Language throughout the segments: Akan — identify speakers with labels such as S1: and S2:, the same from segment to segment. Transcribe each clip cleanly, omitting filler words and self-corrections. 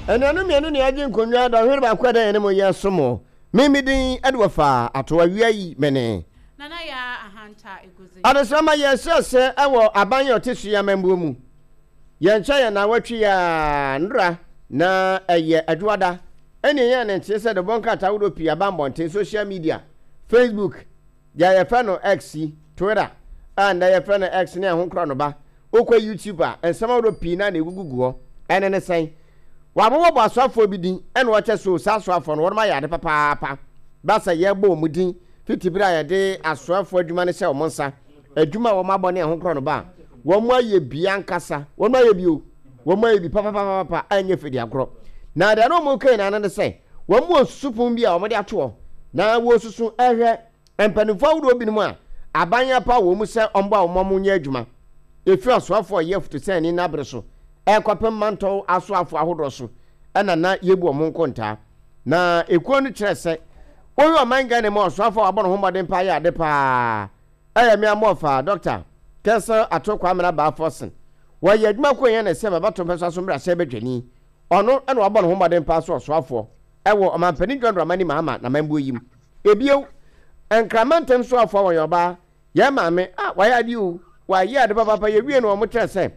S1: Anuanom mmienu na yɛagye nkonnwa dɔnhwere baako a ɛda yɛn anim yi asom o. Me me din de wɔfa ato awia yi me ne.
S2: Nana Yaa Ahanta Eguzi.
S1: Adesamma yɛhyɛ ase wɔ aban a ɔte so yi amammuo mu. Yɛnkyɛ yɛn naawɔtwe yi ara nnora na ɛyɛ Adwoada ɛne yɛn ne nteɛ sɛ dɔbɔ nkrataa ahodoɔ pii aba mmɔnten, social media, Facebook, deɛ yɛfrɛ no X yi, Twitter a nnɛ yɛfrɛ no X ne ɛho korɔnoba. Wokɔ YouTube a, nsɛm ahodoɔ pii no ara na ɛgugugu hɔ. Ɛno ne sɛn? Wɔabobɔbɔ asoafoɔ bi din ɛna wɔkyɛ so saa asoafoɔ no wɔnom ayɛ ade papaapa. Ba sɛ yɛbɔ wɔn din fiti berɛ a yɛde asoafoɔ adwuma no hyɛ wɔn nsa, adwuma a wɔn abɔ ne ɛho korɔnoba a, wɔn ayɛ bi ankasa. Wɔn ayɛ bi o. Wɔn ayɛ bi papapapapa a ɛnyɛ fɛ di agorɔ. Na deɛ na wɔn reka nyinaa no ne sɛ, wɔn wɔ susupon bi a wɔde ato hɔ na wɔresusu ɛhwɛ Mpanimfoɔ ahodoɔ binom a aban apaw wɔn mu sɛ wɔmmoa wɔn ma wɔnyɛ adwuma, ɛfiri ɔsoafoɔ a ɔyɛ afutusɛnni no abere so rekɔpem mantɔw asoafoɔ ahodoɔ so na na yɛbu wɔn ho nkontaa. Na ekuo no kyerɛ sɛ wohwɛ ɔman Ghana mu a ɔsoafoɔ a wabɔ ne ho mmɔden paa yɛ ade paa ɛyɛ me Amoɔfaa, Dɔkta Kessel Ato Kwamena Baa Forson. Wɔyɛ adwuma kuo yɛn na ɛsɛ mɛbɛto mpɛsoa so mmarahyɛbadwani. Ɔno na wabɔ ne ho mmɔden paa sɛ ɔsoafoɔ ɛwɔ Ɔmanpanin John Dramani Mahama n'amambuo yi mu. Ebio, Nkraman ntam soafoɔ a wɔyɛ ɔbaa, yɛn maame, ah, wayɛ adeɛ o, wayɛ ade papaapa, yɛwie no wɔn kyerɛ sɛ,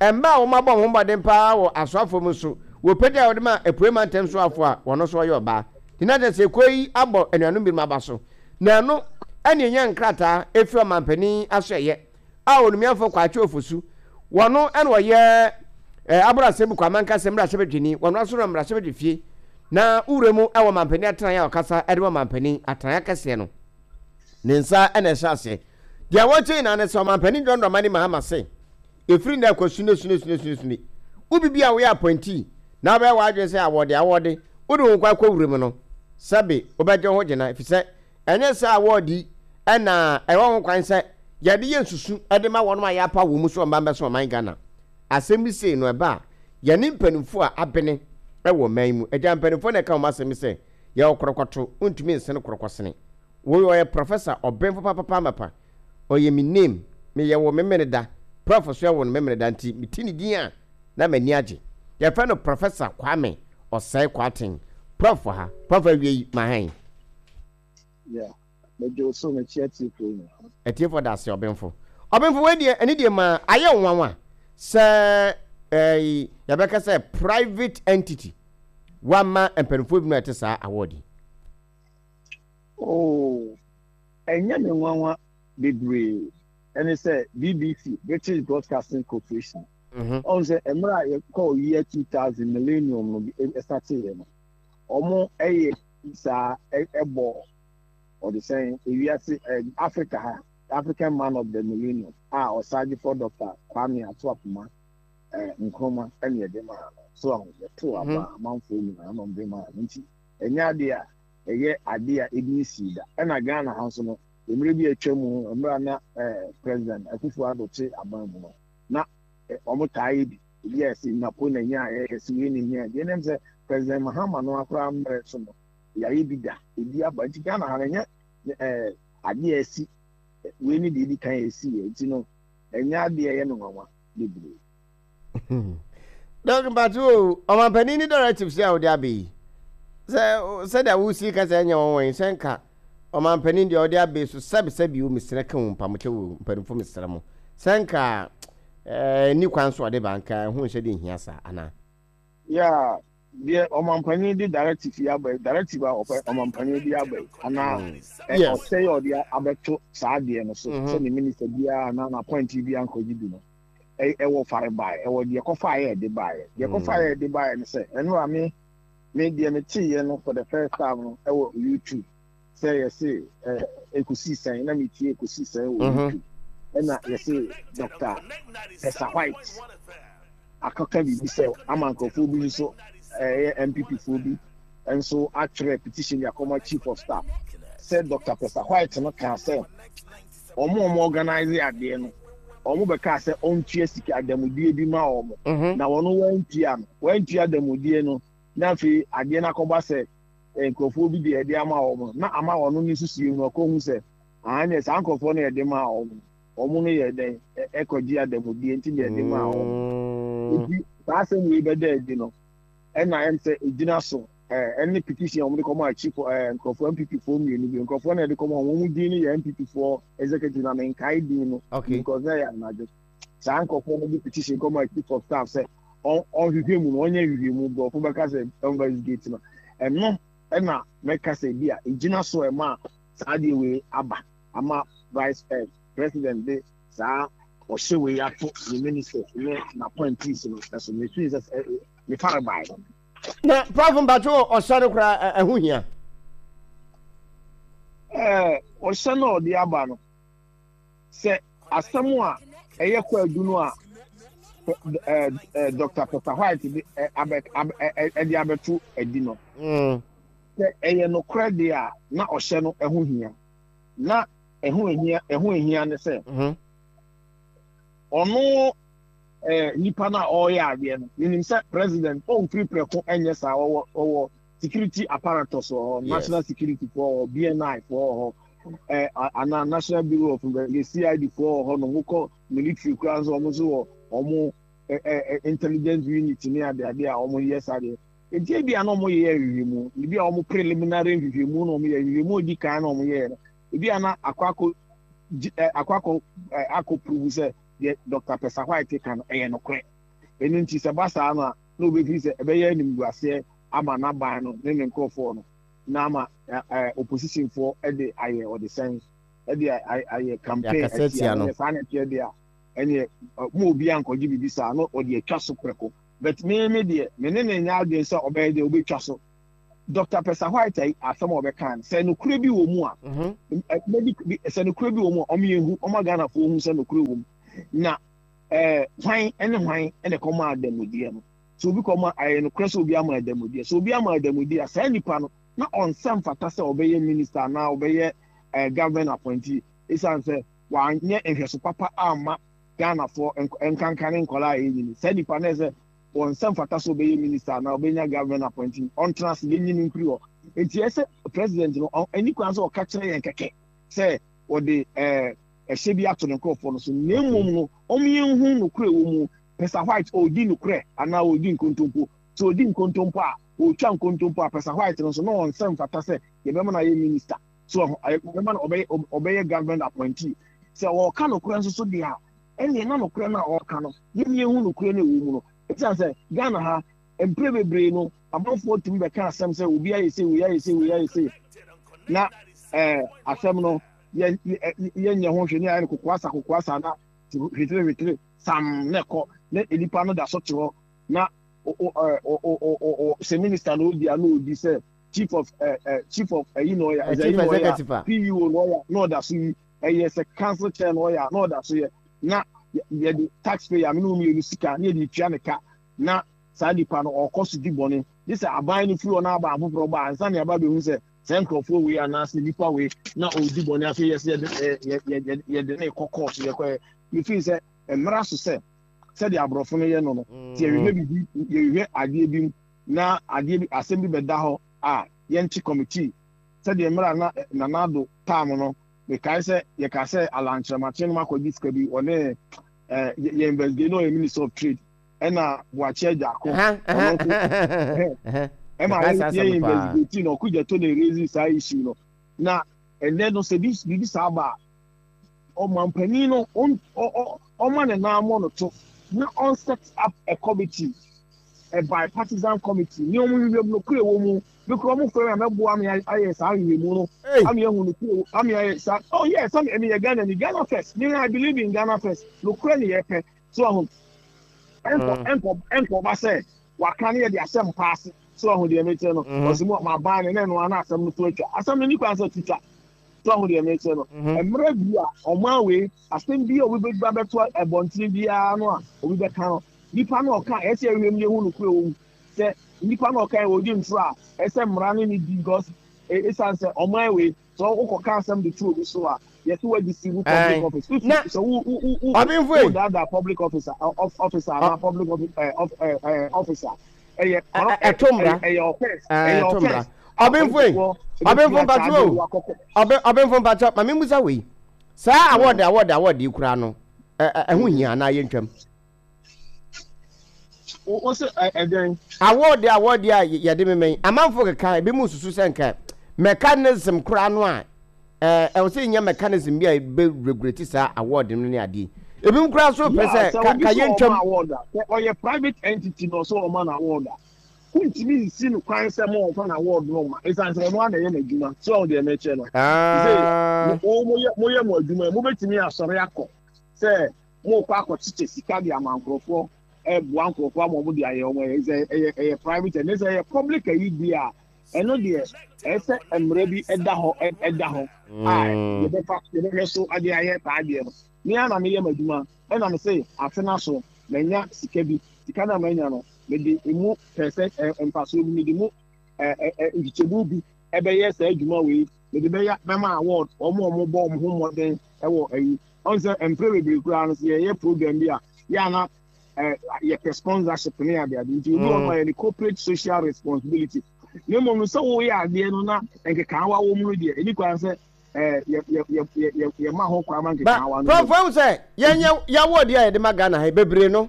S1: mmaa a wɔn abɔ wɔn ho mmɔden paa wɔ asoafoɔ mu nso, wɔpagya a wɔde ma Apuei mantam soafoɔ a wɔn nso ɔyɛ ɔbaa. Nti na kyerɛ sɛ ekuo yi abɔ anuanom binom aba so. Na ɛno ɛne ɛnya nkrataa ɛfiri ɔmanpanin asoɛeɛ a Onumiafo Kwakye Ofosu, wɔno na ɔyɛ eh, Aboro Asebu Kwamankasa mmarahyɛbadwani, wɔno aso no mmarahyɛbadwafie na wura mu wɔ mampanin atenaeɛ a ɔkasa de ma mampanin atenaeɛ akɛseɛ no ne nsa na ɛhyɛ aseɛ. Deɛ wɔkyɛ nyinaa ne sɛ ɔmampanin John Dramani Mahama se ɛfiri nnɛ kɔ sune sune sune sune sune wo bibi a woyɛ appointee na wobɛyɛ w'adwene sɛ awɔde awɔde wode wo nkwa kɔ wuram no sɛbe wobɛgye wo ho gyena ɛfiri sɛ Ɛnyɛ saa awɔɔde yi na ɛwɔ ho kwan sɛ yɛde yɛ nsusu de ma wɔnom a yɛapaw wɔn mu sɛ wɔmma mmɛso ɔman Ghana. Asɛm bi sei no ɛba a, yɛne mpanimfoɔ a abene wɔ ɔman yi mu, agya mpanimfoɔ na ɛka wɔn asɛm sɛ yɛwɔ korɔkɔto, wontumi nsene korɔkɔsene. Woi ɔyɛ professor, ɔbenfo papapa amapa, ɔyɛ me name, meyɛ wo Memeneda, prof so ɛwo no Memeneda nti mete ne din a na m'ani agye. Yɛfrɛ no Professor Kwame Osei Kwarteng. Prof wɔ ha. Prof awie yi, ma hɛn.
S3: Yeah, megye wo so, mekyia atiefoɔ nyinaa.
S1: Atiefoɔ da ase, ɔbenfo. Ɔbenfo, wei deɛ, ɛne deɛ ma ayɛ wo nwanwa sɛ ɛɛ yɛbɛka sɛ private entity wama mpanimfoɔ binom a ɛte saa award yi.
S3: Oh, ɛnyɛ me nwanwa bebree. Ɛne sɛ BBC, British Broadcasting Corporation, ɔhu sɛ mmerɛ a yɛkɔɔ year 2000 millennium no ɛsateeɛ no, wɔn ɛyɛ saa ɛbɔ ɔde sɛn ewiase Africa ha African man of the millennium a ɔsagyefo Dr. Kwame Ato Apoma Nkrumah ɛne ɛde maa no so ahu yɛto aba amanfoɔ nyinaa na ɔde maa no nti ɛnyɛ adeɛ a ɛyɛ adeɛ a ebi nsii da ɛna Ghana ha nso no mmerɛ bi atwa mu mmerɛ a na President Akufo-Addo te aban mu no na wɔn taa yɛ bi. Ebi a yɛse Napo na nyaeɛ, yɛse wei na nyaeɛ. Deɛ ɛnam sɛ President Mahama no akora mmerɛ so no, yɛayɛ bi da, ebi aba. Nti Ghana ha no, ɛnyɛ ɛɛ adeɛ a ɛsi, wei ne deɛ edi kan a ɛsi yɛ. Nti no, ɛnyɛ adeɛ a ɛyɛ no nwanwa bebree.
S1: Dɔk mpatse o, ɔmanpanin ne directives yi a wode aba yi, sɛ sɛdeɛ wosi ka sɛ ɛnyɛ nwanwa yi, sɛ nka ɔmanpanin deɛ ɔde aba yi so sɛbe sɛbe o, mesrɛ ka o, mpamokyɛ o, mpanimfoɔ mesrɛ mo, sɛ nka Ɛɛ, nni kwan so ɔde ba, anka ɛho nhyɛ de nhia saa, anaa?
S3: Yeah, deɛ ɔmanpanin de directive yi aba yi, directive a ɔpɛ ɔmanpanin de aba yi, anaa ɛ
S1: Yes.
S3: ɔsɛ yɛ ɔde abɛto saa adeɛ no so sɛ ne minister biara anaa n'appointee biara nkɔgye bi no, ɛ ɛwɔ farebae, ɛwɔ deɛ kɔfaeɛ a ɛde baeɛ. Deɛ kɔfaeɛ a ɛde baeɛ ne sɛ, ɛno a me me deɛ meteeɛ no for the first time no ɛwɔ YouTube. Sɛ yɛse eh, ɛkɔsii sɛn na metie ɛkɔsii sɛn wɔ YouTube ɛna yɛse Dr. Tessa White akɔka biribi sɛ ama nkurɔfoɔ bi nso ɛyɛ NPP foɔ bi nso atwerɛ petition de akɔma Chief of Staff sɛ Dr. Tessa White no kaa sɛ wɔn a wɔn organize adeɛ no wɔn bɛkaa sɛ ɔntua sika adamudeɛ bi ma wɔn na wɔn wɔantua no wɔantua adamudeɛ no na afei adeɛ no akɔba sɛ nkurɔfoɔ bi deɛ ɛde ama wɔn no, na ama ɔno ne nsusuiɛ mu ɔkɔhu sɛ, aane, saa nkurɔfoɔ no yɛde maa wɔn no, wɔn no yɛ dɛn ɛkɔgye adamudeɛ nti na yɛde maa wɔn. Nti saa asɛm wei bɛda adi no, Ɛna ɛm sɛ ɛgyina so ɛne petition a wɔde kɔmaa chief nkurɔfoɔ NPP foɔ mmienu bi nkurɔfoɔ na ɛde kɔmaa wɔn wɔn din no yɛ NPP foɔ executive na menkae din no
S1: okay.
S3: because na ɛyɛ anadwo saa nkurɔfoɔ no de petition kɔmaa chief of staff sɛ ɔnhwehwɛ mu no ɔnyɛ nhwehwɛ mu borɔfo bɛka sɛ investigate no ɛno ɛna mɛka sɛ bi a ɛgyina so ɛma saa deɛ wei aba ama vice eh, president de saa ɔhyɛ wei ato ne ministers ne n'appointees no ɛso mesui sɛ mefa no bae.
S1: Na Prof mpacho ɔhyɛ no koraa ɛho hia?
S3: Ɛɛ ɔhyɛ no a ɔde aba no sɛ asɛm a ɛyɛ kwaadu no a ɛɛ Dr. Peter White de abɛ abɛ ɛde abɛto adi no.
S1: Mm.
S3: Sɛ ɛyɛ nokorɛ deɛ a na ɔhyɛ no ɛho hia. Na ɛho ehia ɛho ehia ne sɛ.
S1: Mm-hmm.
S3: Ɔno eh, nipa no a ɔreyɛ adeɛ no menim sɛ president ɔmfiri prɛko ɛnyɛ saa ɔwɔ ɔwɔ security apparatus wɔ hɔ national security foɔ wɔ hɔ BNI foɔ wɔ hɔ eh, anaa national bureau of investigation CID foɔ wɔ hɔ nom wokɔ military koraa nso wɔn nso wɔ wɔn eh, eh, intelligence unit ne adeade a wɔn yɛ saa deɛ nti ebi a na wɔn yɛ nhwehwɛmu ebi a wɔn preliminary nhwehwɛmu na wɔn yɛ nhwehwɛmu odi kan na wɔn yɛ no ebi a na akɔ akɔ akɔ akɔ akɔ prove sɛ deɛ Dɔkta Pɛsa White ka no, ɛyɛ nokorɛ. Ɛno nti, sɛ ɛba saa no a, na wɔbɛfiri sɛ ɛbɛyɛ animguaseɛ ama n'aban no ne ne nkorɔfoɔ no, na ama oppositionfoɔ de ayɛ ɔdesɛn, de ayɛ campaign atia no. Ɛneɛ saa na ɛteɛ deɛ a, ɛneɛ mo obiara nkɔgye biribi saa na ɔde atwa so prɛko. But me me deɛ, me ne no nyɛ adwene sɛ ɔbɛyɛ deɛ ɔbɛtwa so. Dɔkta Pɛsa White ayi asɛm a ɔbɛkaa no, sɛ nokorɛ bi wɔ mu a, sɛ nokorɛ bi wɔ mu a, ɔmo yɛn hu, ɔma Ghanafoɔ hu sɛ nokorɛ wɔ mu. Na ɛɛ hwan ne hwan na ɛkɔmaa adamudeɛ no? Sɛ obi kɔma, ɛyɛ nokorɛ sɛ obi ama adamudeɛ. Sɛ obi ama adamudeɛ a, saa nipa no, na ɔnsɛ mfata sɛ ɔbɛyɛ minister anaa ɔbɛyɛ ɛɛ government appointee, esiane sɛ wanyɛ nhwɛso papa amma Ghanafoɔ, nkanka ne nkwadaa a yɛnyini. Saa nipa no, ɛsɛ wɔn nsa mfata sɛ ɔbɛyɛ minister anaa ɔbɛnya government appointee, ɔntena ase, yɛnyi no mfiri hɔ. Nti ɛsɛ president no, ɛni kwan sɛ ɔka kyerɛ yɛn kɛkɛ sɛ ɔde ɛɛ ɛhyɛ bi ato ne nkurɔfoɔ no so, na mmom no, wɔn yɛnhu nokorɛ wɔ mu. Pɛsa White ɔredi nokorɛ anaa ɔredi nkontompo? Sɛ ɔdi nkontompo a, ɔretwa nkontompo a, Pɛsa White no nso, na wɔn nsa mfata sɛ yɛbɛma no ayɛ minister. So yɛbɛma no ɔbɛyɛ ɔbɛyɛ government appointee. Sɛ ɔreka nokorɛ nso so deɛ a, ɛnneɛ na nokorɛ no a ɔreka no, yɛn yɛnhu nokorɛ no a ɛwɔ mu no. Ɛsiane sɛ Ghana ha, mprɛ bebree no, amanfoɔ tumi bɛka asɛm sɛ obi ayɛ sei, wei ayɛ sei, wei ayɛ sei, na ɛɛ asɛm no yɛ yɛnyɛ ho hwee ne ayɛ no kokoasa kokoasa na hwetire hwetire sam na ɛkɔ na nipa no da so te hɔ na sɛ minister na odi a na odi sɛ chief of chief of ɛyi na ɔyɛ
S1: chief executive a
S3: PEO na ɔyɛ na ɔda so yi ɛyɛ sɛ council chair na ɔyɛ a na ɔda so yɛ na yɛde taxpayer me ne wo mmienu sika na yɛde tua ne ka na saa nipa no ɔkɔ so di bɔne gye sɛ aban no firi hɔ na aban foforɔ ba ansa na yɛaba bɛhu sɛ saa nkurɔfoɔ wei anaasɛ nipa wei na ɔredi bɔne afei yɛsɛ yɛde yɛde ne kɔ kɔɔto yɛkɔ yɛ mefii sɛ mmara so sɛ sɛdeɛ aborɔfo no yɛ no no sɛ yɛhwehwɛ biribi yɛhwehwɛ adeɛ bi mu na adeɛ bi asɛm bi bɛda hɔ a yɛnte committee sɛdeɛ mmerɛ a na Nana Addo time no mekae sɛ yɛka sɛ Alan Kyerematen nom akɔgye sika bi ɔne eh, yɛ investigate na ɔyɛ minister of trade ɛna Boakye Agyarko ɔno nso ɛma yɛ investigate na Okudzeto na erezi saa issue no na ɛnɛ no sɛ biribi saa ba a ɔmanpanin no ɔma ne nan mmɔ no to na ɔn set up a committee, a bipartisan committee, ne wɔn nhwehwɛ mu nokorɛ wɔ mu. Me kura wɔn frɛ me a mɛboa me ayɛ saa nhwehwɛmu no. Ami ahu nokorɛ ami ayɛ saa. Oh yes, sɛ me yɛ Ghana ni, Ghana first. Me I believe in Ghana first. Nokorɛ ne yɛpɛ. So ahu. Ɛnkɔ ɛnkɔ ɛnkɔ ba sɛ waka ne yɛ de asɛm paase. So ahu deɛ mekyerɛ no. Ɔsi mu ma ban ne na ɛno ana asɛm no to atwa. Asɛm no ni kwan sɛ twitwa. So ahu deɛ mekyerɛ no? Mhm. Mmerɛ bi a ɔman wei asɛm bi a obi bɛba bɛto ɛbɔntene biara no a obi bɛka no nipa no ɔka ɛsɛ ɛhwɛ mu yɛhu nokorɛ wɔ mu sɛ nipa no ɔka ɔdi ntoro a ɛsɛ mmara no ne di because ɛsiane sɛ ɔman wei sɛ wokɔka asɛm de to obi so a yɛsɛ wadi si wo public office
S1: na
S3: sɛ wo wo wo wo daadaa public officer officer anaa public officer ɛyɛ
S1: ɛto mmara
S3: ɛyɛ offense ɛyɛ offense
S1: Ɔbenfo ei, ɔbenfo mpakyɛ o, ɔbe ɔbenfo mpakyɛ, ma memmusa wei. Saa award award award yi koraa no, ɛho hia anaa yɛntwam?
S3: Wo se ɛdɛn?
S1: Award award a yɛde mema yi, amanfo keka, ebinom susu sɛ nka mechanism koraa no a ɛwɔ sɛ yɛnya mechanism bi a ɛbɛ regulate saa award no ne adeɛ yi. Ebinom koraa nso pɛ
S3: Yeah,
S1: sɛ
S3: sɛ
S1: ka
S3: obi
S1: ka
S3: sɛ ɔma
S1: yɛntwam.
S3: award a, sɛ ɔyɛ private entity na ɔsɛ ɔma no award a, wontumi nsi no kwan sɛ ma ɔmfa n'award no mma, ɛsiane sɛ ɔno ara na ɛyɛ n'adwuma. So ahu deɛ mekyerɛ no? Sɛ
S1: Ah.
S3: mo moyɛ moyɛ mo adwuma yi, mobɛtumi asɔre akɔ sɛ morekɔ akɔkyekyɛ sika de ama nkurɔfoɔ, ɛreboa nkurɔfoɔ ama wɔn de ayɛ wɔn ɛyɛ sɛ ɛyɛ ɛyɛ private ɛne sɛ ɛyɛ public ayi deɛ a, ɛno deɛ ɛyɛ sɛ mmara bi ɛda hɔ ɛda hɔ a yɛbɛfa yɛbɛhwɛ so de ayɛ saa adeɛ no. Me ara na meyɛ m'adwuma ɛna me se afe no aso manya sika bi, sika no a manya no mede emu pɛsɛ mfasoɔ bi mede mu nkyekyɛmu bi ɛbɛyɛ saa adwuma wei, mede bɛyɛ bɛma award wɔn a wɔbɔ wɔn ho mmɔden ɛwɔ ayi. Ɔn sɛ mprɛ bebree koraa no sɛ yɛyɛ program bi a yɛ ana yɛpɛ sponsorship ne ade ade nti obi wɔ no ayɛ ne corporate social responsibility na mmom no sɛ woyɛ adeɛ no na nkekaawa wɔ mu no deɛ ɛni kwan sɛ yɛma ho kwan ma nkekaawa no.
S1: Prɔfo ehu sɛ yɛnyɛ yɛawɔ deɛ a yɛde ma Ghana ha bebree no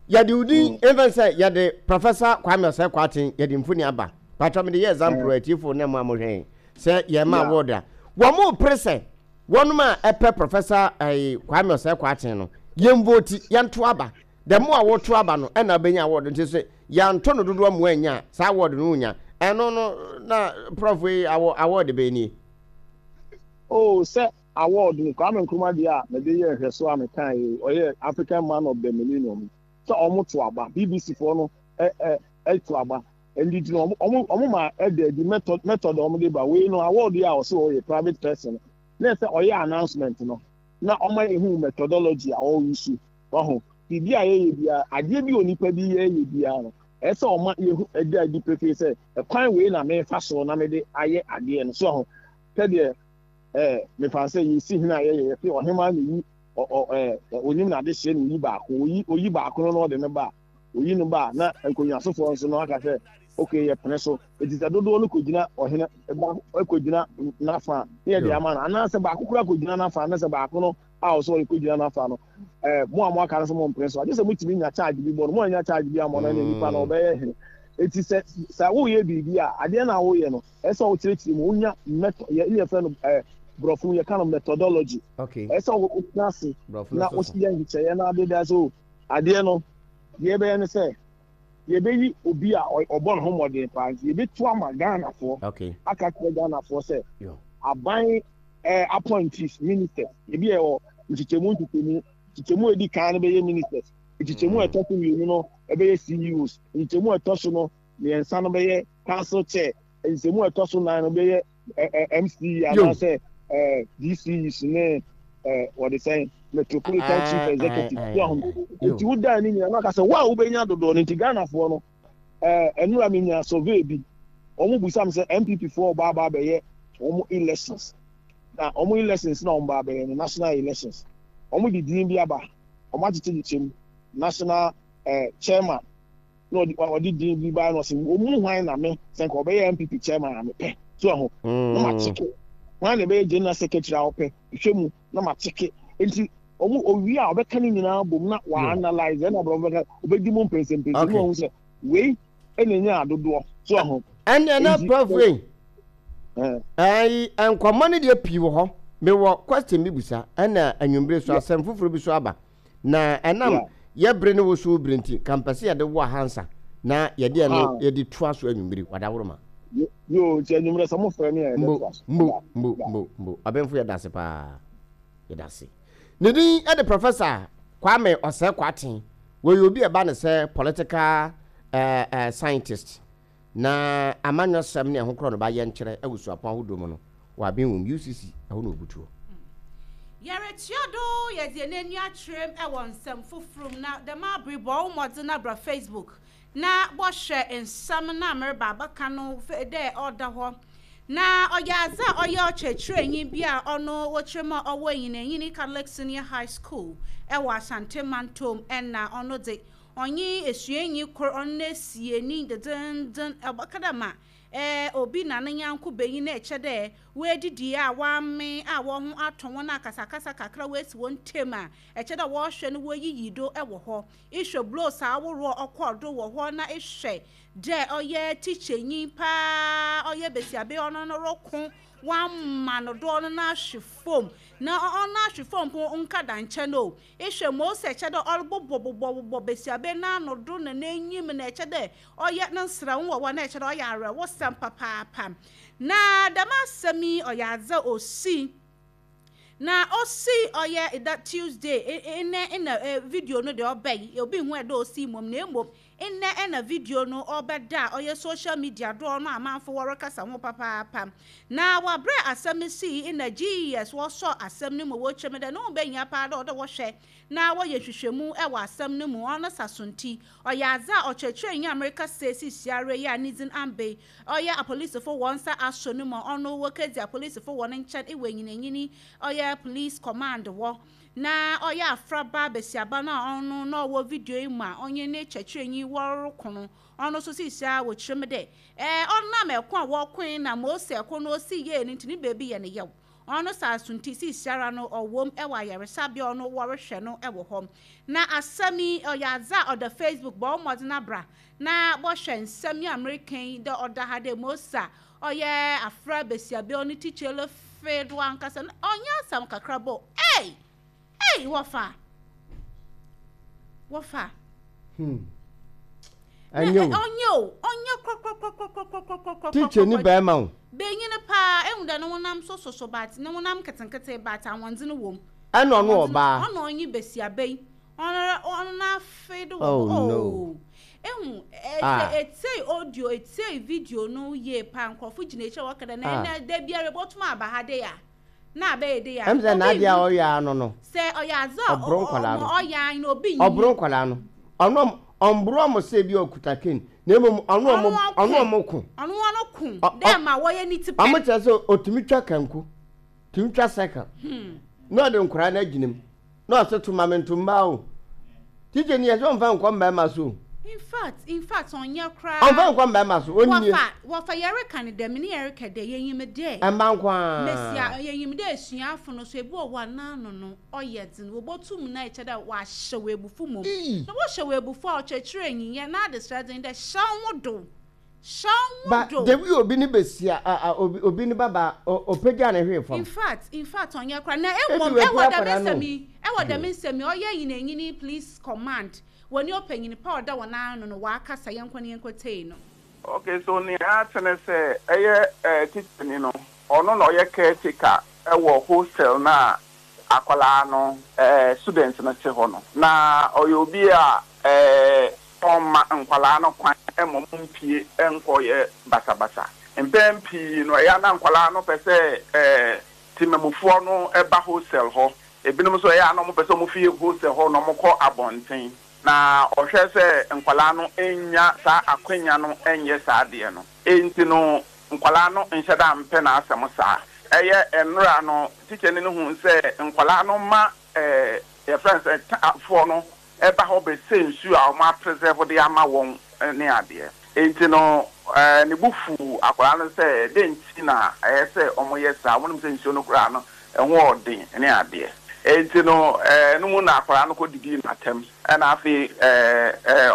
S1: yɛde wodin mfɛn sɛ yɛde Professor Kwame Osei Kwarteng yɛde mfoni aba patwa mede yɛ example atiefo ne mo a mohwɛ sɛ yɛma award a wɔn mo pere sɛ Wɔnom a ɛpɛ Professor ɛyi Kwame Osei Kwarteng no, yɛn vote, yɛnto aba. The more a woto aba no, ɛna wobɛnya award. Nti sɛ yɛanto no dodoɔ ma wannya a, saa award no wonnya. Ɛno no, na Prof yi awɔ award bɛn nie?
S3: Oh, sɛ award no, Kwame Nkrumah deɛ a mede yɛɛ nhwɛsoɔ a mekaeɛ yi, ɔyɛ African Man of the Millennium yi, sɛ wɔn to aba, BBC foɔ no ɛ ɛ ɛto aba, ɛnti nti no wɔn wɔn ma ɛda adi method method a wɔn de ba wei no award yi a ɔsɛ ɔyɛ private person na ɛsɛ ɔyɛ announcement no na wɔn ayɛ hu methodology a ɔreyi so waho biribi a yɛyɛ biara adeɛ bi onipa bi yɛyɛ biara no ɛsɛ ɔma yɛhu ɛda adi pefee sɛ ɛkwan wei na mefa so na mede ayɛ adeɛ no so aho sɛdeɛ ɛɛ mefa sɛ yɛsi hene a yɛyɛ yɛte ɔhemaa na yi ɔ ɔ ɛɛ onim n'adehyeɛ na oyi baako oyi oyi baako no na ɔde no ba a Oyi no ba a, na nkonnwasofoɔ nso no aka sɛ, Ok, yɛpene so. Enti sɛ dodoɔ no kɔgyina ɔhene ba kɔgyina n'afa a, na yɛde ama no. Anaasɛ baako koraa kɔgyina n'afa, na sɛ baako no a ɔsɛ ɔyɛ kɔgyina n'afa no, eh, mo a moaka no sɛ mompene so a, gye sɛ motumi nya charge bi bɔ no. Moannya charge bi ammɔ no a, ɛnneɛ nipa no ɔbɛyɛ hene. Enti sɛ, sɛ woreyɛ biribi a, adeɛ no a woreyɛ no, ɛsɛ sɛ wokyerɛkyerɛ mu, wonya method, yɛ, yɛfrɛ no, eh, borɔfo mu yɛka no methodology.
S1: Okay.
S3: Ɛsɛ sɛ wotena ase
S1: Borɔfo no
S3: na
S1: so so.
S3: woyɛ nhyehyɛeɛ na ade da so Adeɛ no, deɛ yɛbɛyɛ ne sɛ, yɛbɛyi obi a ɔbɔ ne ho mmɔden paa nti yɛbɛtu ama Ghanafoɔ
S1: okay.
S3: aka kyerɛ Ghanafoɔ sɛ aban eh, appointees ministers ebi yɛ wɔ nkyekyɛmu nkyekyɛmu nkyekyɛmu a ɛdi kan no bɛyɛ ministers nkyekyɛmu a ɛtɔ so mmienu no ɛbɛyɛ CEOs nkyekyɛmu a ɛtɔ so no mmiɛnsa no bɛyɛ council chair nkyekyɛmu a ɛtɔ so nan no bɛyɛ MCE anaasɛ DCEs ne wɔde sɛn metropolitan chief executive so ahom nti wodaa ne nyinaa na ɔka sɛ wo a wobɛnya dodoɔ no nti Ghanafoɔ no ɛnora menya survey bi wɔn busa me sɛ NPP foɔ ɔba aba abɛyɛ wɔn elections na wɔn elections na wɔn ba abɛyɛ no national elections wɔn de din bi aba wɔn akyekyekyekyɛ mu national chairman na ɔde ɔde din bi baa na ɔsɛ wɔn mu hwan na me sɛ nka ɔbɛyɛ npp chairman a mepɛ so ɛho na ma kyeke hwan na ɛbɛyɛ general secretary a ɔpɛ hwɛ mu na ma kyeke nti wɔn owie a ɔbɛka ne nyinaa bom na wa analyse ɛna ɔbɛka bɛka ɔbɛdi mu mpɛnsɛmpɛnsɛ mu ɔho sɛ wei ɛna enya adodoɔ so ɛho.
S1: Ɛnna na prof wei ɛyi nkɔmɔ no deɛ pii wɔ hɔ mewɔ question bi busa ɛna anwummere so asɛm foforɔ bi so aba. Na ɛnam yɛ bere ne wo so wo bere nti, ka mpɛ sɛ yɛde wo ahansa na yɛde ɛno yɛde toa so anwummere, wadaworoma.
S3: Yoo, nti anwummerɛ sɛ mofrɛ me a
S1: Mbo,
S3: yɛbɛtoa so.
S1: mbo, mbo, mbo, mbo. Abenfo yɛda ase paa. Yɛda ase. Ne din de Professor Kwame Osei Kwarteng. Wɔyɛ obi a ɛba no sɛ political eh, eh, scientist. Na amanyɔsɛm ne ɛho korɔ no ba yɛnkyerɛ wɔ suapɔn ahodoɔ mu no, wɔaben wɔ mu, UCC, ɛhɔ na wɔbutuo.
S2: Yɛretua do yɛdze hɛn enyi akyerɛ mu wɔ nsɛm fofor mu na dɛm aber yi bɔ wo mbɔdzen na bra Facebook na bɔhwɛ nsɛm no a mereba abɛka no dɛ ɔda hɔ. Na ɔyɛ adze a ɔyɛ ɔkyerɛkyerɛnyi bi a ɔno wɔkyerɛ mu a ɔwɔ Enyinenyin Catholic Senior High School wɔ Ashanti Mantam na ɔno dze Ɔnye esuanyi kor, ɔno n'esienyi dzendzenndzen, ɔbɛka dɛ ma Obi na ne nyɛnko banyin na ɛkyɛ dɛ woedidi a wɔamee a hɔnho atɔ hɔn a akasakasa kakra woesi hɔn ntamu a, ɛkyɛ dɛ wɔhwɛ no woyiyi do wɔ hɔ. Ehwɛ blows ahorow a ɔkɔr do wɔ hɔ na ehwɛ dɛ ɔyɛ tikyɛnyi paa, ɔyɛ basiaba yi ɔno no roko, wɔama no do ɔno n'ahwe famu, na ɔno n'ahwe famu mpo nnkɛda nkyɛn o. Ehwɛ ma osi ɛkyɛ dɛ ɔrobobɔbobɔbobɔ basiaba yi n'ano do na n'enyim na ɛkyɛ dɛ ɔyɛ ne nserɛw wɔ hɔ na ɛkyɛ dɛ ɔyɛ awerɛhosɛm papaapa. Na dɛm asɛm yi ɔyɛ adze a osii na osii ɔyɛ da Tuesday ndɛ nna video no deɛ ɔbae, obi nnhu ɛda osii mbom na mbom ndɛ na video no ɔbɛda a ɔyɛ social media do ɔno amanfo wɔrekasa ho papaapa. Na wɔ aber a asɛm no sii nna GES wɔsɔɔ asɛm no mu wɔkyerɛ mu dɛ no ho behia paa dɛ ɔwɔ dɛ wɔhwɛ na wɔyɛ nhwehwɛmu wɔ asɛm no mu, ɔno saso ntsi ɔyɛ adze a ɔkyerɛkyerɛnyi a merekasa seseiara yi a ne dzin Ambey ɔyɛ apolisifo hɔn nsa asɔ no mu a ɔno wokedzi apolisifo hɔn nkyɛn wɔ enyinenyin ɔyɛ police command hɔ na ɔyɛ afraba basiaba no a ɔno na ɔwɔ video yi mu a ɔnye ne kyerɛkyerɛnyi wɔroko no ɔno so seseiara wɔkyerɛ mu dɛ ɔnam ɛko a wɔkoe na ma osi ɛko no osi yie no ntsi ne beebi yɛ no yaw. Ɔno saa so ntsi seseiara no ɔwɔ mu wɔ ayaresabea a ɔno wɔrohwɛ no wɔ hɔ. Na asɛm yi ɔyɛ adze a ɔda Facebook bɔ wo mbɔdzen abra na bɔhwɛ nsɛm yi a mereka yi dɛ ɔda ha dɛ Mose a ɔyɛ afra basiaba ɔno teacher fee do ankasa no ɔnnyɛ asɛm kakraba o ei! Ei wɔfa! Wɔfa!
S1: Hmm. Ɛnyɛ o.
S2: Ɔnyɛ o. Ɔnyɛ korɔkorɔkorɔkorɔkorɔkorɔkorɔ.
S1: Teacher ni bɛrima o.
S2: Benyin paa ehu dɛ ne honam so soso but ne honam nketenkete but ahoɔdzen wɔ mu.
S1: Ɛna ɔno ɔbaa.
S2: Ɔna ɔnye basiaba yi. Ɔno ɔno n'afe do wɔ hɔ.
S1: Oh no.
S2: Ehu sɛ etsie audio etsie video no yie paa nkorɔfo gyina ekyir a wɔka dɛ na ɛnɛ da biara ebotum aba ha dei a. Na abɛyɛ dei a.
S1: Ɛm sɛ n'adeɛ a ɔyɛ ara no no.
S2: Sɛ ɔyɛ adze a
S1: Ɔboro nkwadaa no.
S2: ɔyɛ ara no obi nyi.
S1: Ɔboro nkwadaa no. Ɔno ɔmboro ɔmo sɛ bi a ɔkuta cane na mmom ɔno ɔmo ɔno ɔmo ko.
S2: Ɔno ɔno ko dɛ ma wɔyɛ ne ti pɛ.
S1: Ɔmo kyerɛ sɛ ɔtumi twa kanku, tumi twa circle na ɔde nkwadaa no agyina mu. Na ɔse to ma me nto mmaa o. Teacher ni yɛsɛ ɔmfa nkɔ mmarima so o.
S2: In fact, in fact ɔnyɛ koraa.
S1: Ɔmfa nkɔ mmarima so, ɔnnie.
S2: Wɔfa, wɔfa yɛreka no dɛm ne yɛreka dɛ yɛnyim dɛ.
S1: Mma nko ara.
S2: Mesia, yɛnyim dɛ esuafo no so ebi wɔ hɔ a n'ano no ɔyɛ dzen, wobotum na ekyɛ dɛ wɔahyɛ wo ebufu mbom. Na wɔhyɛ wo ebufu a ɔkyerɛkyerɛnyi yɛ n'adesrɛ dze nye dɛ hyɛ woho do.
S1: Ba the way obi ne besia a a obi obi ne ba ba ɔpagya ne hwee fam.
S2: In fact in fact ɔnyɛ koraa na mmom ɛwɔ dɛm nsɛm yi ɛwɔ dɛm nsɛm yi ɔyɛ nyinanyini please command wɔne ɔpanyin pa a ɔda wɔn ano no wakasa yɛnkɔ na yɛnkɔ tie no.
S4: Okay so nea ate ne sɛ ɛyɛ eh tikyani no ɔno na ɔyɛ caretaker wɔ hostel no a akwadaa no eh student no te hɔ no na ɔyɛ obi a eh Ɔmma nkwadaa no kwan mma wɔmpue nkɔyɛ basabasa. Mpɛn pii no, ɛyɛ a na nkwadaa no pɛ sɛ temamufoɔ no ba hostel hɔ. Ebinom nso, ɛyɛ a na wɔpɛ sɛ wɔfi hostel hɔ na wɔkɔ abɔnten. Na ɔhwɛ sɛ nkwadaa no nnya saa akwanya no nyɛ saa adeɛ no. Enti no, nkwadaa no nhyɛ da mpɛ n'asɛm saa. Ɛyɛ nnora no, tikyani no huu sɛ nkwadaa no ma yɛfrɛ no sɛ foɔ no ba hɔ bɛsɛ nsuo a wɔn apresɛvo de ama wɔn ne adeɛ. Enti no ne bo fuu akwadaa no sɛ dɛn nti na ɛyɛ sɛ wɔyɛ saa, wɔnim sɛ nsuo no koraa no ɛho yɛ den ne adeɛ. Enti no ɛno mu na akwadaa no kɔdidii no atɛm, ɛna afei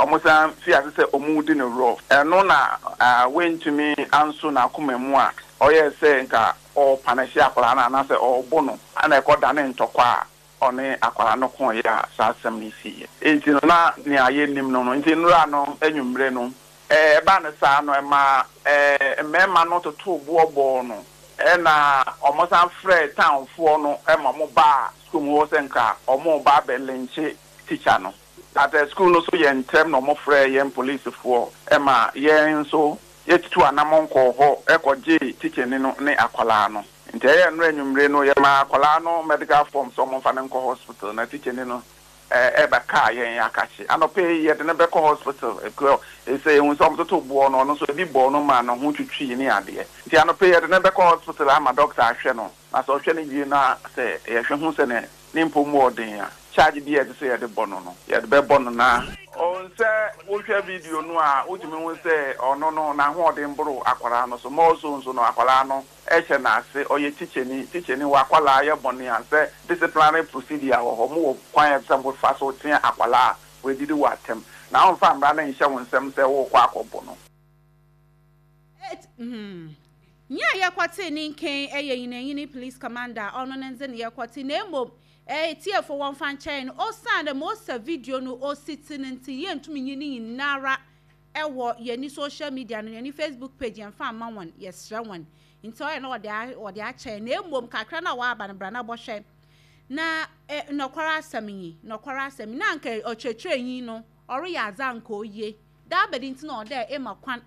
S4: wɔsan fii ase sɛ wɔredi no rough. Ɛno na wantumi anso n'akoma mu a ɔyɛɛ sɛ nka ɔrepanɛhye akwadaa no anaasɛ ɔrebo no, ɛna ɛkɔdanee ntɔkwa a ɔne akwadaa no koeɛ a saa asɛm no siiɛ. Enti no, na nea yɛnnim no no nti, nnora no anwummere no, ɛbaa no saa no, ɛmaa mmarima no totoo boɔ bɔɔ no, ɛnna wɔsan frɛɛ townfoɔ no ma wɔbaa sukuu mu hɔ sɛ nka wɔreba abɛlɛnkye tikya no. But sukuu no nso yɛ ntɛm na wɔfrɛɛ yɛn polisifoɔ ma yɛn nso yɛtutuu anammɔn kɔɔ hɔ kɔgyee tikyani no ne akwadaa no. Nti ɛyɛɛ nnora anwummere no yɛmaa akwadaa no medical form sɛ wɔmfa no nkɔ hospital na tikyani no bɛkaa yɛn akakye. Anɔpa yi yɛde no bɛkɔ hospital efisɛ yɛhu sɛ wɔtoto boɔ no, ɔno nso ebi bɔɔ no maa ne ho twitwii ne adeɛ. Nti anɔpa yi yɛde no bɛkɔ hospital ama doctor ahwɛ no na sɛ ɔhwɛ no wie na sɛ yɛhwɛ hu sɛ ne mpɔ mu ɔden a, charge biara a ɛsɛ sɛ yɛde bɔ no no, yɛde bɛbɔ no na. Oh, sɛ wohwɛ video no a, wotumi hu sɛ ɔno no n'ahoɔden boro akwadaa no so. More so nso no, akwadaa no hyɛ n'ase, ɔyɛ tikyani. Tikyani, w'akwadaa yɛ bɔne a, sɛ disciplinary procedure wɔ hɔ, mowɔ kwan a ɛsɛ sɛ mofa so tea akwadaa a wadidi wo atɛm. Na womfa mmara no nhyɛ wo nsam sɛ worekɔ akɔbo no.
S2: Et, hmm. Nyia yɛkɔtsee ne nkɛn yɛ nyinanyini police commander a ɔno ne ndze na yɛkɔtse na mbom eh, etsiefo wɔmfa nkyɛ hɛn osiandɛ ma osa video no osi tse no ntsi yenntum nnyi ne nyinara wɔ yɛne social media no yɛne Facebook page yɛmmfa mma hɔn yɛserɛ hɔn ntsi ɔyɛ na wɔdze wɔdze akyɛ hɛn na mbom kakra no a wɔaba no bra na bɔhwɛ na eh, nɔkwar asɛm nye nɔkwar asɛm na anka ɔkyerɛkyerɛnyi no ɔreyɛ adze a anka oye dɛ abɛde ntsi na ɔwɔ dɛ ema kwan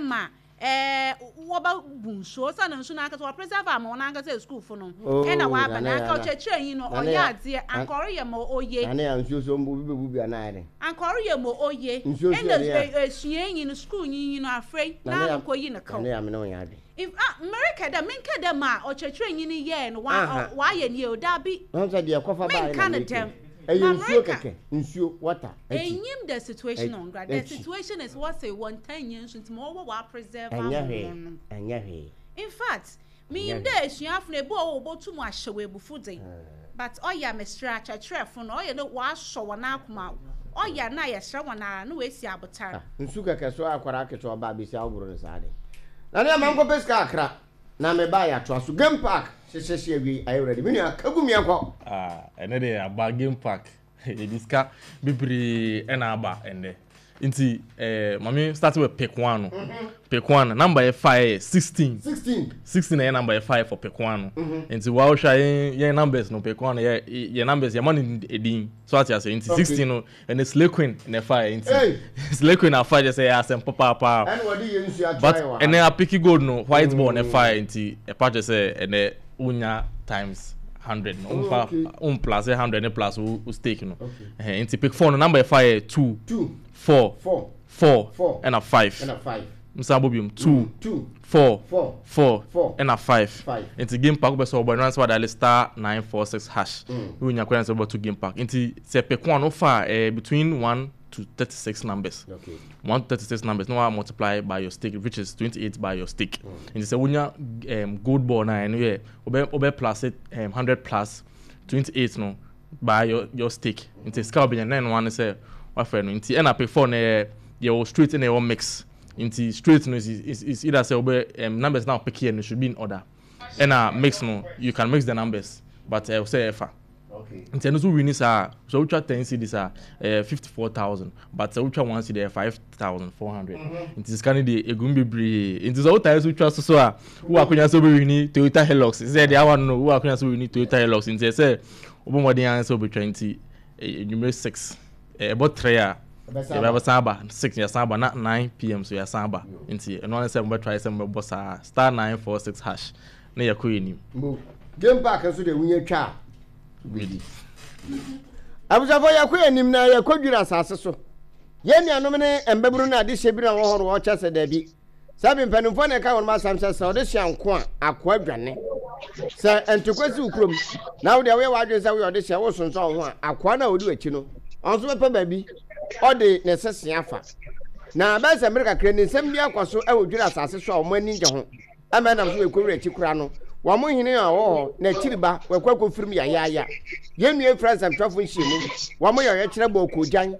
S2: ma wɔbɛbu nsuo osiane nsu no ankasa wɔ preserve ama wɔn ankasa sukuufo no ɛna
S1: Oh,
S2: wɔaba
S1: nane
S2: na
S1: ya
S2: anka
S1: na
S2: ɔkyerɛkyerɛnyi no
S1: nane
S2: ɔyɛ
S1: ya
S2: adeɛ anka ɔreyɛ ma oye
S1: nane ya nsuo so obi bɛbu bi anaa ayɛ dɛn
S2: anka ɔreyɛ ma oye
S1: nsuo so
S2: ɛna
S1: yɛ den a
S2: esuanyi no sukuunyi no afei
S1: nane
S2: n'ano
S1: ya
S2: kɔyi ne kaw
S1: nane ya mene wo nyɛ adwene
S2: In ah merekɛ dɛ menkɛ dɛ ma ɔkyerɛkyerɛnyi no yɛɛ no wa
S1: aha
S2: ɔayɛ no yie o daabi
S1: Wɔn sɛ deɛ ɛkɔfa baeɛ
S2: menka
S1: na
S2: no
S1: meka
S2: dɛm
S1: yi ɛyɛ
S2: na
S1: nsuo
S2: mereka
S1: kɛkɛ nsuo water akyi
S2: Enyim the situation on ground. The
S1: akyi
S2: situation is wɔse wɔntaa nnya nsu ntsi ma ɔwɔ wɔ preserve ama
S1: ɛnyɛ hwee
S2: hɔn no.
S1: ɛnyɛ hwee
S2: In fact,
S1: ɛnyɛ
S2: minyim
S1: hwee.
S2: dɛ esuafo no ebi wɔ hɔ a wobotum ahyɛ wo ebufuw dze but ɔyɛ a meserɛ akyerɛkyerɛfo no ɔyɛ dɛ wɔasɔ hɔn akoma ɔyɛ a na yɛserɛ hɔn ara na woesi abotar.
S1: Ah, nsu kɛkɛ so akwadaa ketewa ɔba abɛsi awoboro no saa de. Na ne ama nkɔpɛ sika akra na me ba yɛatoa so. Game park hyehyɛ hye awiei ayɛ ready. Me nua ka gu mu yɛnkɔ.
S5: Ah, ɛnɛ deɛ aba game park. Yɛde sika bebree ɛna aba ɛnɛ. Nti eh, mame start with pick one no. Mm-hmm. Pick one, number yɛ fa yɛ 16.
S1: 16.
S5: 16 na yɛ number yɛ fa yɛ for pick one no. Mm-hmm. Nti wa wohwɛ yɛn yɛn numbers no pick one yɛ yɛ numbers yɛ ma no edin. So ate ase nti 16 no ɛnɛ Slay Queen na ɛfa yɛ nti. Slay Queen afa yɛ sɛ yɛ asɛm papaapa.
S1: Ɛna wɔde yɛ nsu atra
S5: But
S1: yɛ wɔ ha.
S5: ɛnɛ apiki gold no white ball na ɛfa yɛ nti ɛpa kyerɛ sɛ ɛnɛ wonya times 100 no womfa won plus 100 ne plus wo stake no ɛhɛn nti pick 4 no number ɛfa yɛ 2 4 4 ɛna 5 nsan bɔ biom 2 4 4 ɛna 5 nti game park wobɛ sɛ wɔbɔ ɛno ansa wadial star 946 hash na wonya kwan sɛ wobɛto game park nti sɛ pick 1 wofa eh, between 1 to 36 numbers.
S1: Okay.
S5: 1 to 36 numbers. Now I multiply by your stake, which is 28 by your stake. Nti sɛ wonya gold ball na ɛno yɛ wobɛ wobɛ plus it 100 plus 28 no by your stake. Nti sika wobɛnya na ɛno ano sɛ wafrɛ no. Nti ɛna pick 4 no yɛ yɛwɔ straight ɛna yɛwɔ mix. Nti straight no is either sɛ wobɛ numbers na pick here no should be in order. Ɛna mix no you can mix the numbers but ɛwɔ sɛ ɛfa. Nti ɛno nso wini saa a, sɛ wotwa 10 cedis a, ɛyɛ 54,000. But sɛ wotwa 1 cedi a, ɛyɛ 5,400. Nti sika no deɛ ɛgu mu bebree. Nti sɛ wotae so twa so so a, wowɔ akonya sɛ wobɛwini Toyota Hilux. Sɛ deɛ awa no no, wowɔ akonya sɛ wobɛwini Toyota Hilux. Nti ɛsɛ wobɔ mmɔden ara sɛ wobɛtwa. Nti anwummere 6, ɛbɔ 3 a, yɛbɛsan aba. 6 yɛsan aba na 9 pm so yɛsan aba. Nti ɛno ara ne sɛ mobɛtry sɛ mobɛbɔ saa star 946 hash. na yɛkɔ yɛn anim.
S1: Mbo game park nso deɛ wonya twa a wobɛdi. Abusuafoɔ yɛkɔ yɛn anim na yɛkɔ dwiri asase so. Yɛn nuanom ne mbabunu no adehyɛ bi na wɔ hɔ no wɔkyɛ sɛ daabi. Sɛ bi mpanimfoɔ na ɛka wɔn asɛm sɛ sɛ ɔde hyɛ nko a akoa dwane. Sɛ ntokwa si wo kurom na wo deɛ woyɛ w'adwene sɛ woyɛ ɔde hyɛ wosonsɔn wo ho a akoa no a ɔdi w'akyi no ɔno nso bɛpɛ baabi ɔde ne sese afa. Na bɛyɛ sɛ mmere kakra ni nsɛm bi akɔ so wɔ dwiri asase so a wɔn ani ngye ho. Ɛma ɛnam so wɔkɔ wura akyi koraa no, wɔn hene a ɔwɔ hɔ, n'akyiri ba, wɔakɔ akɔfirim yayaaya. Yɛn nua fira nsɛmtwerɛfoɔ nhyiamu, wɔyɛ ɔyɛkyerɛ bɔɔ koogyan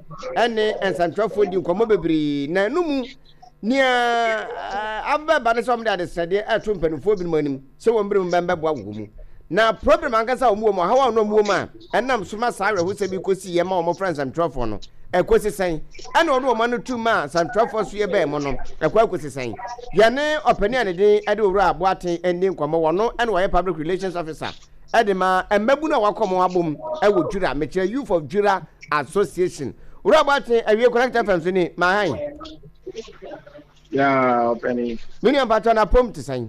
S1: ne nsɛmtwerɛfoɔ di nkɔmmɔ bebree, na ɛno mu nea abɛba ne sɛ wɔde adesrɛdeɛ ɛreto mpanimfoɔ binom anim sɛ wɔn binom bɛmbɛboa wɔ mu. Na problem ankasa a wɔn wɔ mu, ɔhaw a wɔn wɔ mu a ɛnam so ma saa awerɛhosɛm yi kɔsi yɛ ma wɔfrɛ nsɛmtwerɛfoɔ no, ɛkɔsi sɛn? Ɛna ɔde wɔn ano tu maa nsɛmtwerɛfoɔ so yɛ bɛn mu no, ɛkɔ akɔsi sɛn? Yɛne ɔpanin a ne din de Owura Boateng ndi nkɔmmɔ, wɔno ɛna ɔyɛ Public Relations Officer ɛde ma mmabunu a wakɔ wɔn abom ɛwɔ Dwira, mekyerɛ Youth of Dwira Association. Owura Boateng, awie Connect FM so ni, mahan.
S3: Yeah, ɔpanin.
S1: Me nua mpakyɛ na pom te sɛn?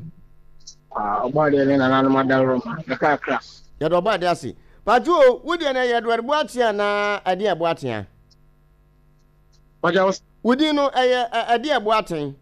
S3: Ah, ɔbɔ adeɛ ne nananom adaworo ma, kakrakra.
S1: Yɛde ɔbɔ adeɛ ase. Pacho o, wo deɛ no ɛyɛ Edward Boakye anaa ɛdeɛ Boateng a?
S3: Pacho wo.
S1: Wo din no ɛyɛ ɛdeɛ Boateng?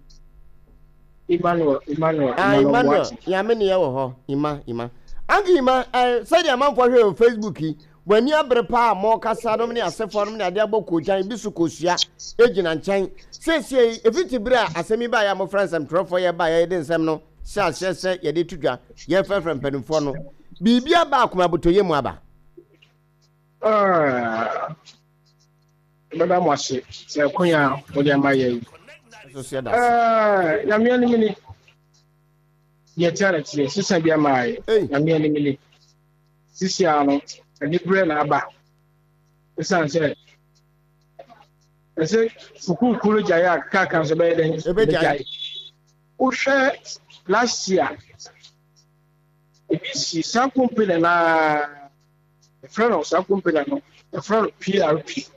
S3: Emmanuel, Emmanuel,
S1: ah, Emmanuel Boakye. Nyame ne yɛ wɔ hɔ, Ima, Ima. Anke Ima, eh, sɛdeɛ amanfoɔ hwɛ wɔ Facebook yi, Mo ani abere paa a morekasa nom ne asefoɔ nom ne adeɛ abɔ koogyan bi so kosua gyina nkyɛn. Seesei, ɛfiti berɛ a asɛm yi baeɛ a mofrɛ nsɛmtwerɛfoɔ yɛ baeɛ yɛde nsɛm no hyɛ aseɛ sɛ yɛde to dwa, yɛrefrɛfrɛ mpanimfoɔ no, biribi aba akoma abotɔyɛ mu aba?
S6: Ah, mɛda mo ase sɛ akonya a mode ama yɛ yi.
S1: Nso so yɛda ase.
S6: Ah, Nyame anim ni. Deɛ ɛteɛ na ɛteɛ, sesa bi ama yɛ. Nyame anim ni. Sisi ara no, aniberɛ na aba. Ɛsiane sɛ ɛsɛ sukuukuo no gyae a kaaka nso bɛyɛ dɛn?
S1: Ɛbɛgyae.
S6: Wohwɛ last year, ebi si saa company no ara, yɛfrɛ no saa company no, yɛfrɛ no PRP.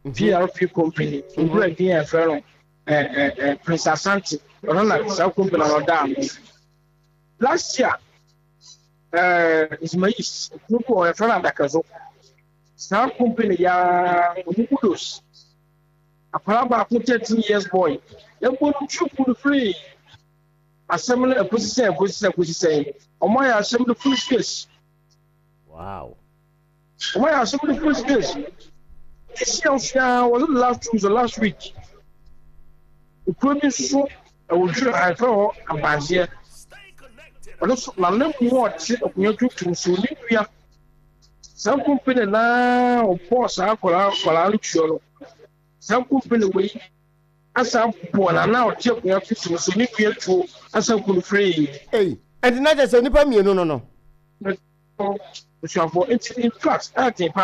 S6: PRP company, owura din a yɛfrɛ no eh, eh, Prince Asante, ɔno na saa company no ɔda ano. Last year, ɛɛ Ismails kuro bi wɔ hɔ yɛfrɛ no Adakazo. Saa company yi ara ɔmo kudos. Akwadaa baako 13 years boy yɛbɔ no tuo ku no free. Asɛm no ɛkɔsi sɛn ɛkɔsi sɛn ɛkɔsi sɛn ɔmo ayɛ asɛm no full space.
S1: Wow.
S6: Ɔmo ayɛ asɛm no full space. This year nso ara was it last 2 weeks or last week? Kuro bi nso so ɛwɔ Dwira ha yɛfrɛ hɔ Abanzeɛ. Ɔno nso nana mu a ɔte akonnwa tuntum so ne nua. Saa company naa ɔbɔɔ saa akwadaa akwadaa no tuo no. Saa company wei asa bɔ nana a ɔte akonnwa tuntum so ne nua tuo asa ku no firii.
S1: Ei, ɛnti na kyerɛ sɛ nnipa mmienu no no.
S6: Abusuafoɔ, nti in fact ɛyɛ den paa.